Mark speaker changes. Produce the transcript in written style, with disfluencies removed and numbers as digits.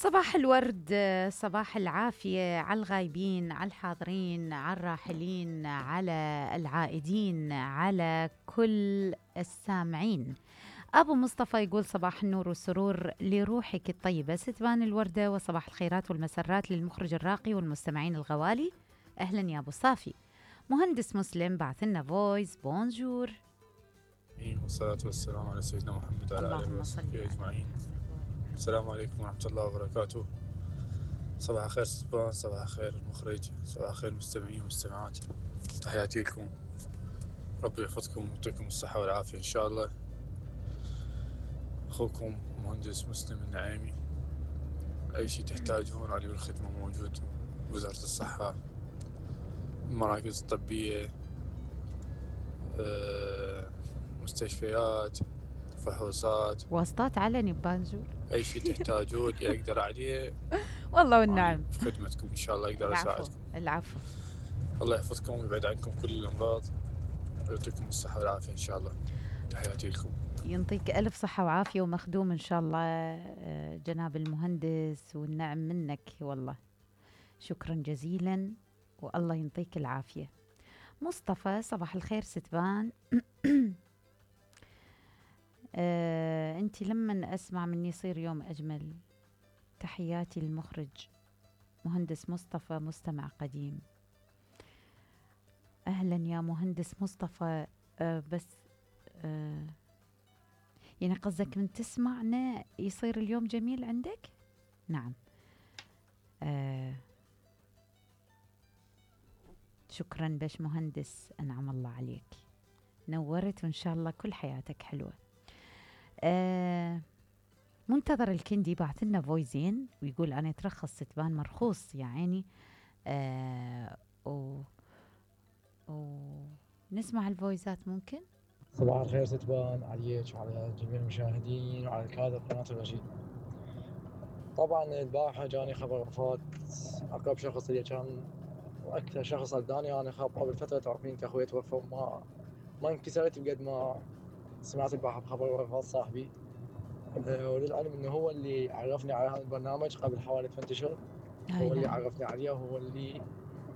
Speaker 1: صباح الورد، صباح العافية على الغايبين، على الحاضرين، على الراحلين، على العائدين، على كل السامعين. أبو مصطفى يقول صباح النور والسرور لروحك الطيبة ستبان الوردة، وصباح الخيرات والمسرات للمخرج الراقي والمستمعين الغوالي. أهلا يا أبو صافي. مهندس مسلم بعث لنا فويس بونجور.
Speaker 2: والصلاة والسلام على سيدنا محمد وعلى آله وصحبه أجمعين. السلام عليكم ورحمة الله وبركاته. صباح الخير سبان، صباح الخير المخرج، صباح الخير المستمعين والمستمعات. تحياتي لكم، ربي يحفظكم ويعطيكم الصحة والعافية إن شاء الله. أخوكم مهندس مسلم النعيمي. أي شيء تحتاجون علي بالخدمة موجود. وزارة الصحة، المراكز الطبية، مستشفيات، فحوصات،
Speaker 1: واسطات علني ببانجور.
Speaker 2: أي شيء تحتاجون أقدر عليه
Speaker 1: والله والنعم.
Speaker 2: في خدمتكم إن شاء الله أقدر أساعدكم.
Speaker 1: العفو.
Speaker 2: الله يحفظكم ويبعد عنكم كل الأمراض ويعطيكم الصحة والعافية إن شاء الله. تحياتي لكم.
Speaker 1: ينطيك ألف صحة وعافية ومخدوم إن شاء الله جناب المهندس، والنعم منك والله. شكرا جزيلا والله ينطيك العافية. مصطفى صباح الخير ستبان. أنت لما أسمع مني يصير يوم أجمل. تحياتي للمخرج مهندس مصطفى مستمع قديم. أهلا يا مهندس مصطفى. بس يعني قصدك من تسمعنا يصير اليوم جميل عندك؟ نعم. شكرا باش مهندس، أنعم الله عليك، نورت وإن شاء الله كل حياتك حلوة. منتظر الكندي بعث لنا فويزين ويقول أنا ترخص ستبان مرخوص يا عيني. نسمع الفويزات ممكن.
Speaker 3: صباح الخير ستبان عليك وعلى جميع المشاهدين وعلى كادر قناة الرشيد. طبعا البارحة جاني خبر وفاة أقرب شخص اللي كان وأكثر شخص أذاني. أنا قبل فترة تعرفين كأخوي توفى ما انكسرت بقد ما سمعت البارحة بخبر وفاة صاحبي. وللعلم إنه هو اللي عرفني على هذا البرنامج قبل حوالي 8 أشهر. هو اللي عرفني عليه وهو اللي